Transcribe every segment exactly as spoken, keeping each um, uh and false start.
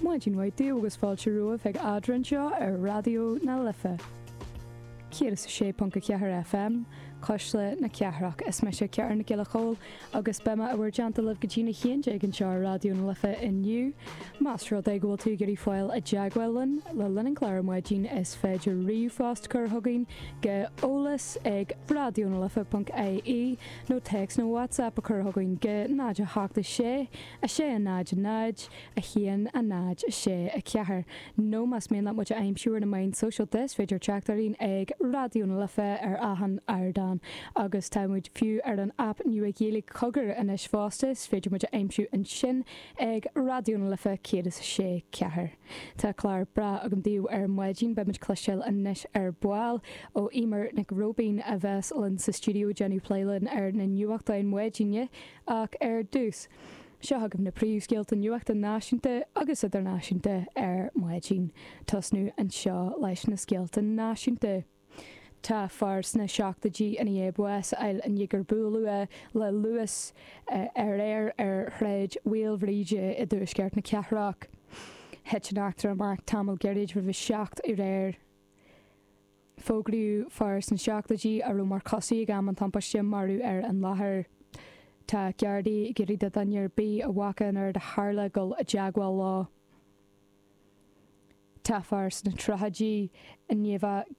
Maidin mhaith daoibh agus fáilte romhaibh ag Eadra anseo ar Raidió na Life. Céad is a sé ponc a ceathair FM, Cuisle na Cathrach. Is mise Ciara Nic Giolla Chóill agus beidh mé i bhur dteannta libh go dtína haon déag anseo ar Raidió na Life inniu. Más rud é go bhfuil tú ag iarraidh fáil i dteagmháil linn le linn an chláir ar maidin is féidir ríomhphost a chur chugainn go eolas ag raidionalife ponc ie nó téacs nó WhatsApp a chur chugainn go náid a hocht a sé, a sé a náid a náid, a haon a náid a sé a ceathair. Nó más mian leat muid a aimsiú ar na meáin sóisialta is féidir teacht orainn ag Raidió na Life ar achan ardán. Agus tá muid fiú ar an aip nua Ghaeilge Cogar anois fosta, is féidir muid a aimsiú ansin ag Raidió na Life céad is a sé ceathair. Tá clár breá agam daoibh ar maidin, beidh muid ag cloisteáil anois ar ball ó Eimear Nic Róibín a bheas linn sa stiúideo ag déanamh plé linn ar na nuachtáin maidine ach ar dtús, seo chugaibh na príomhscéalta nuachta náisiúnta agus idirnáisiúnta ar maidin. Tosnú anseo leis na scéalta náisiúnta. Tá fear sna seachtóidí i ndiaidh bás a fháil i ndiaidh gur buaileadh é le luas aréir ar Shráid Mhaoilbhríde i dtuaisceart na cathrach. Thit an eachtra amach tamall gairid roimh a seacht aréir. Fógraíodh fear sna seachtóidí a raibh mar chosaí ag am an tubaiste marbh ar an láthair. Tá Gardaí ag iarraidh do dhuine ar bith a bhfaca an rud a tharla dul i dteagmháil leo. Tá fear sna tríochaidí i ndiaidh bheith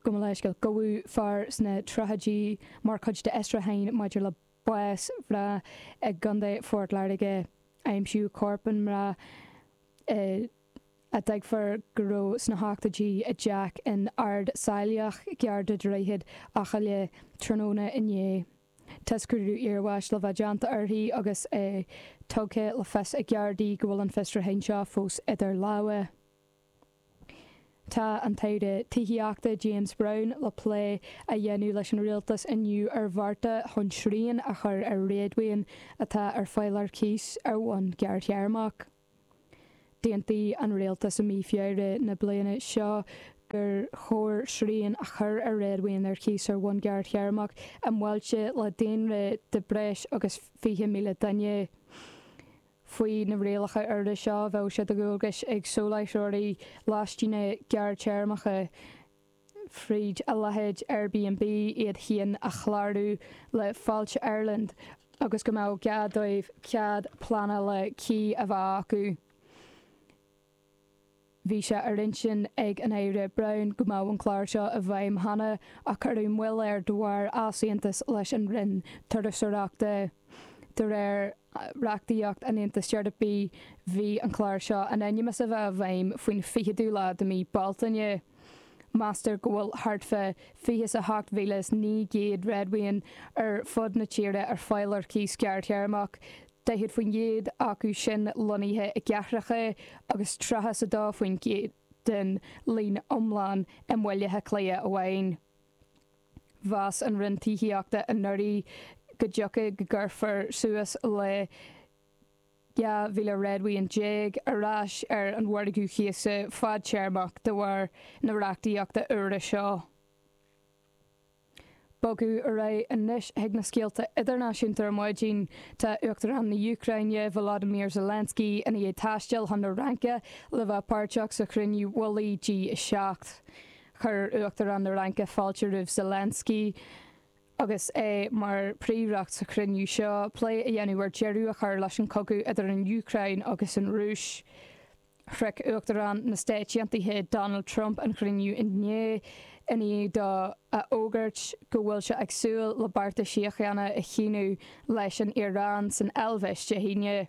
Gabh mo leithscéal. Gabhadh fear sna tríochaidí mar chuid d'fhiosrúchán maidir le bás mná i gContae Phort Láirge. Aimsíodh corp na mná i a dtuigtear go raibh sna hochtóidí i dteach in Ard Saileach, gar do Dhroichead Eochaille, tráthnóna inné. Tá scrúdú iarbháis le bheith déanta uirthi agus é tugtha le fios ag Gardaí go bhfuil an fiosrúchán seo fós idir lámha. Tá an tAire Tithíochta James Browne le plé a dhéanamh leis an Rialtas inniu ar bhearta chun srian a chur ar réadmhaoin atá ar fáil ar cíos ar bhonn gearrthéarmach. D'aontaigh an Rialtas i mí Feabhra na bliana seo gur chóir srian a chur ar réadmhaoin ar cíos ar bhonn gearrthéarmach i mbailte le daonra de breis agus fiche míle duine. Faoi na rialacha úra seo bheadh sé de dhualgas ag soláthróirí lóistíne gearrthéarmacha fríd a leithéid Airbnb iad féin a chlárú le Fáilte Ireland agus go mbeadh gá dóibh cead pleanála cuí a bheith acu. Bhí sé ar intinn ag an Aire Browne go mbeadh an clár seo i bhfeidhm cheana ach cuireadh moill air de bharr easaontas leis an Roinn Turasóireachta. De réir reachtaíocht an Aontais Eorpaigh bhí an clár seo in ainm is a bheith i bhfeidhm faoin ficheadú lá de mhí Bealtaine. Meastar go bhfuil thart fá fiche is a hocht mhíle is naoi gcéad réadmhaoin ar fud na tíre ar fáil ar cíos gearrthéarmach, daichead faoin gcéad acu sin lonnaithe i gcathracha agus tríocha is a dó faoin gcéad den líon iomlán i mBaile Átha Cliath amháin. Mheas an Roinn Tithíochta anuraidh go dtiocfadh go gcuirfear suas le dhá mhíle réadmhaoin déag ar ais ar an mhargadh cíosa fadtéarmach de bharr na reachtaíochta úire seo. Bogadh ar aghaidh anois chuig na scéalta idirnáisiúnta ar maidin. Tá Uachtarán na hÚcráine, Volodymyr Zelensky, i ndiaidh taisteal chun na Fraince le bheith páirteach sa chruinniú mullaigh G a seacht. Chuir Uachtarán na Fraince fáilte roimh Zelensky agus é mar phríomhaireacht sa chruinniú seo, plé a dhéanamh ar deireadh a chur leis an chogadh idir an Úcráin agus an Rúis. Shroich Uachtarán na Stáit Aontaithe Donald Trump an chruinniú inné i ndiaidh dó a fhógairt go bhfuil sé ag súil le bearta síochána a shíniú leis an Iaráin san Eilvéis Dé hAoine.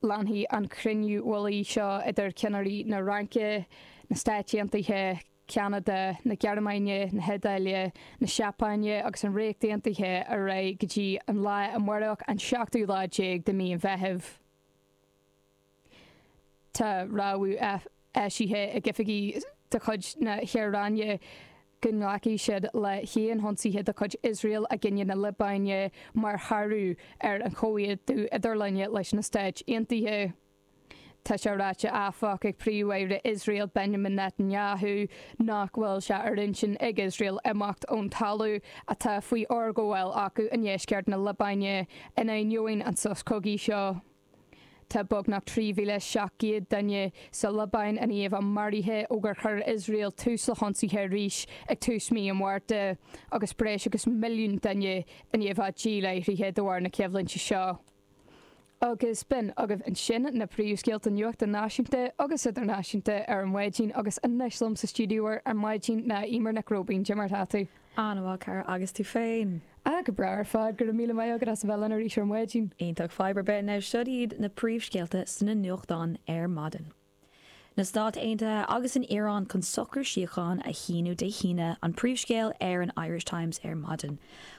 Leanfaidh an cruinniú mullaigh seo idir ceannairí na Fraince, na Stáit Aontaithe, Ceanada, na Gearmáine, na hIodáile, na Seapáine agus an Ríocht Aontaithe ar aghaidh go dtí an lá amárach, an seachtú lá déag de mhí an Mheithimh. Tá rabhadh eisithe ag oifigigh de chuid na hIaráine go nglacfaidh siad le haon hionsaithe de chuid Iosrael i gcoinne na Liobáine mar shárú ar an chomhaontú idirlinne leis na Stáit Aontaithe. Tá sé ráite áfach ag Príomh-Aire Iosrael Benjamin Netanyahu nach bhfuil sé ar intinn ag Iosrael imeacht ón talamh atá faoi fhorghabháil acu i ndeisceart na Liobáine in ainneoin an sos cogaidh seo. Tá beagnach trí mhíle seacht gcéad duine sa Liobáin i ndiaidh a bheith maraithe ó gur chuir Iosrael tús le hionsaithe arís ag tús mí an Mhárta, agus breis agus milliún duine i ndiaidh a bheith díláithrithe de bharr na coimhlinte seo. Agus b'in agaibh ansin na príomhscéalta nuachta náisiúnta agus idirnáisiúnta ar an maidin agus anois liom sa stiúideo ar maidin ná Eimear Nic Róibín. Cad é mar atá tú? An-mhaith, cara, agus tú féin? Ah, go breá ar fad, go raibh míle maith agat as a bheith linn arís ar maidin. Iontach, fadhb ar bith. Now seo iad na príomhscéalta sna nuachtáin ar maidin. Na Stáit Aontaithe agus an Iaráin chun socrú síochána a shíniú Dé hAoine an príomhscéal ar an Irish Times ar maidin.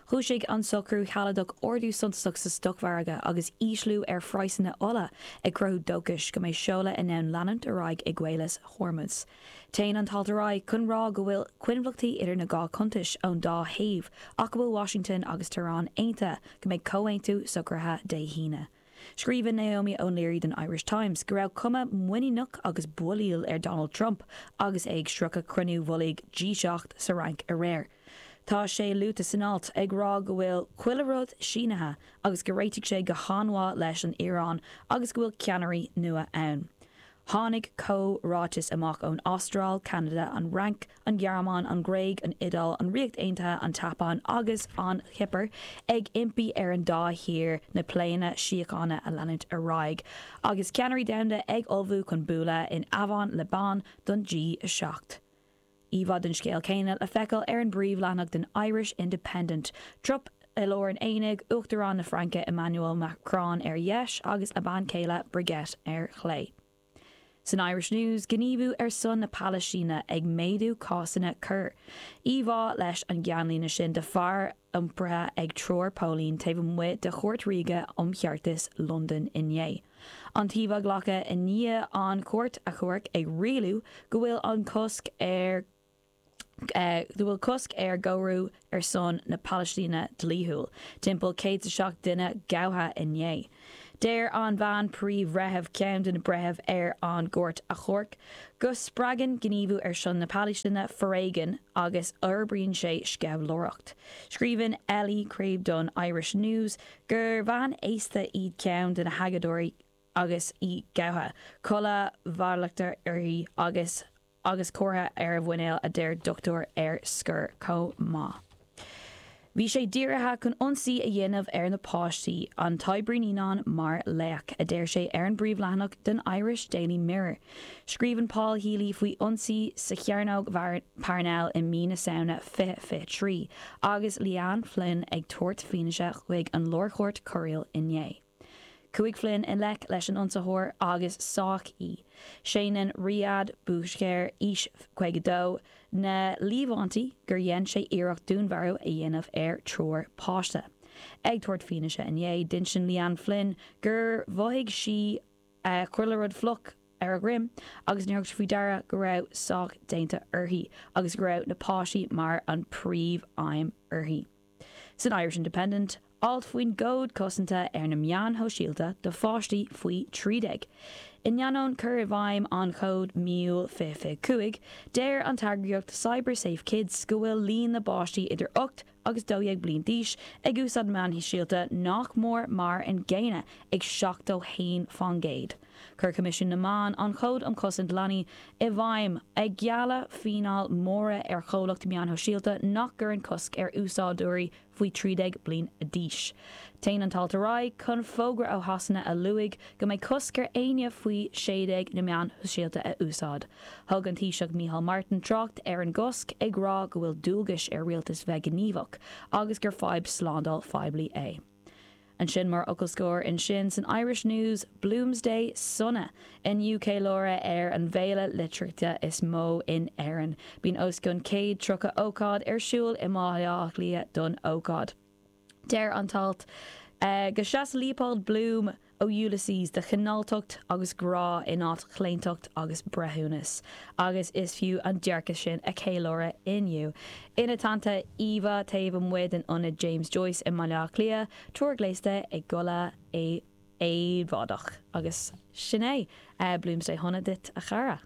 Chúisigh an socrú sealadach ardú suntasach sa stocmhargadh agus ísliú ar phraghsanna ola ag cruthú dóchais go mbeidh seoladh in ann leanúint ar aghaidh i gCaolas Hormuz. Téann an t-alt ar aghaidh chun rá go bhfuil coinbhleachtaí idir na dhá chuntais ón dá thaobh ach go bhfuil Washington agus Tehran aontaithe go mbeidh comhaontú socraithe Dé hAoine. Scríobhann Naomi O'Leary don Irish Times go raibh cuma muiníneach agus builíoch ar Donald Trump agus é ag sroicheadh cruinniú mullaigh G seacht sa Fhrainc aréir. Tá sé luaite san alt ag rá go bhfuil chuile rud sínithe agus go réitigh sé go han-mhaith leis an Iaráin agus go bhfuil ceannairí nua ann. Tháinig comhráiteas amach ón Astráil, Ceanada, an Fhrainc, an Ghearmáin, an Ghréig, an Iodáil, an Ríocht Aontaithe, an tSeapáin agus an Chipir ag impí ar an dá thír na pléanna síochána a leanúint ar aghaidh, agus ceannairí domhanda ag ullmhú chun bualadh in Eavan Le Bon don G a seacht. Íomhá den scéal céanna le feiceáil ar an bpríomhleathanach den Irish Independent. Trump i lár an aonaigh, Uachtarán na Fraince Emmanuel Macron ar dheis agus a bhean chéile Brigitte ar chlé. San Irish News, gníomhú ar son na Palaistíne ag méadú cásanna coir. Íomhá leis an gceannlíne sin de fear iompraithe ag triúr póilín taobh amuigh de Chúirt Ríoga um Cheartas Londain inné. An t-íomhá glactha i ndiaidh an Chúirt Achomhairc ag rialú go bhfuil an cosc ar go bhfuil cosc ar ghnóthú ar son na Palaistíne dlíthiúil. Timpeall céad is a seacht duine gabhtha inné. Deir an bhean príomh-bhreitheamh ceann de na breithimh ar an gCúirt Achomhairc go spreagann gníomhú ar son na Palaistíne foréigean agus fhorbraíonn sé sceimhlitheoireacht. Scríobhann Ellie Crabe don Irish News gur bhean aosta í ceann de na hagóideoirí agus í gabhtha, culaith mhalartach uirthi agus agus comhartha ar a mhuineál a deir dochtúir ar scor chomh maith. Bhí sé dírithe chun ionsaí a dhéanamh ar na páistí, an t-oibrí naíonán mar laoch, a deir sé ar an bpríomhleathanach den Irish Daily Mirror. Scríobhann Paul Healy faoi ionsaí sa Chearnóg Parnell i mí na Samhna fiche fiche trí agus Leanne Flynn ag tabhairt fianaise chuig an Lárchúirt Choiriúil inné. Chuaigh Flynn i ngleic leis an ionsaitheoir agus sádh í. Séanann Riyad Boucher, aois caoga dó, na líomhaintí gur dhein sé iarracht dúnmharú a dhéanamh ar triúr páiste. Ag tabhairt fianaise inné, d'inis Leanne Flynn gur mhothaigh sí chuile rud fliuch ar a droim agus níor thug sí faoi deara go raibh sádh déanta uirthi agus go raibh na páistí mar an príomh-aidhm uirthi. San Irish Independent, alt faoin gcód cosanta ar na meáin shóisialta do pháistí faoi trí déag. In ainneoin cur i bhfeidhm an chóid mí Iúil fiche fiche cúig, deir an t-eagraíocht Cyber Safe Kids go bhfuil líon na bpáistí idir ocht agus dó dhéag bliain d'aois ag úsáid meáin shóisialta nach mór mar an gcéanna ag seachtó haon faoin gcéad. Chuir Coimisiún na Meán an Chód um Chosaint Leanaí i bhfeidhm, ag gealladh fíneáil móra ar chomhlacht meáin shóisialta nach gcuireann cosc ar úsáideoirí faoi trí déag bliain d'aois. Téann an t-alt ar aghaidh chun fógra ó Shasana a luaigh go mbeidh cosc ar éinne faoi sé déag na meáin shóisialta a úsáid. Thug an Taoiseach Micheál Martin trácht ar an gcosc ag rá go bhfuil dualgas ar rialtas bheith gníomhach agus gur fadhb slándáil phoiblí é. Ansin mar fhocal scoir ansin san Irish News, Bloomsday sona inniu ceiliúradh ar an bhféile liteartha is mó in Éirinn. Bíonn os cionn céad tríocha ócáid ar siúl i mBaile Átha Cliath don ócáid. Deir an t-alt go seas Leopold Bloom ó Ulysses do chineáltacht agus grá in áit chlaontacht agus breithiúnas, agus is fiú an dearcadh sin a cheiliúradh inniu. Ina teannta íomhá taobh amuigh den ionad James Joyce i mBaile Átha Cliath, triúr gléasta i gculaith éabhlóideach. Agus sin é, Bloomsday shona duit a chara.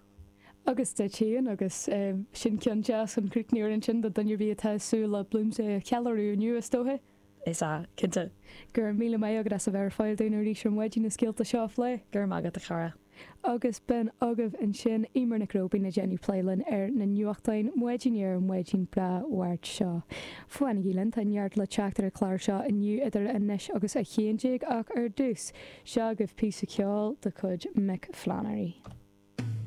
Agus duit féin agus sin ceann deas chun críochnú ansin do dhuine ar bith atá ag súil le Bloomsday a cheiliúradh inniu is dócha. Is ea, cinnte. Go raibh míle maith agat as a bheith ar fáil dúinn arís ar maidin na scéalta seo a phlé. Go raibh maith agat a chara. Agus b'in agaibh ansin Eimear Nic Róibín ag déanamh plé linn ar na nuachtáin maidin ar an maidin breá Mháirt seo. Fanaigí linn tá neart le teacht ar an chlár seo inniu idir anois agus a haon déag ach ar dtús seo agaibh píosa ceoil de chuid Mick Flannery.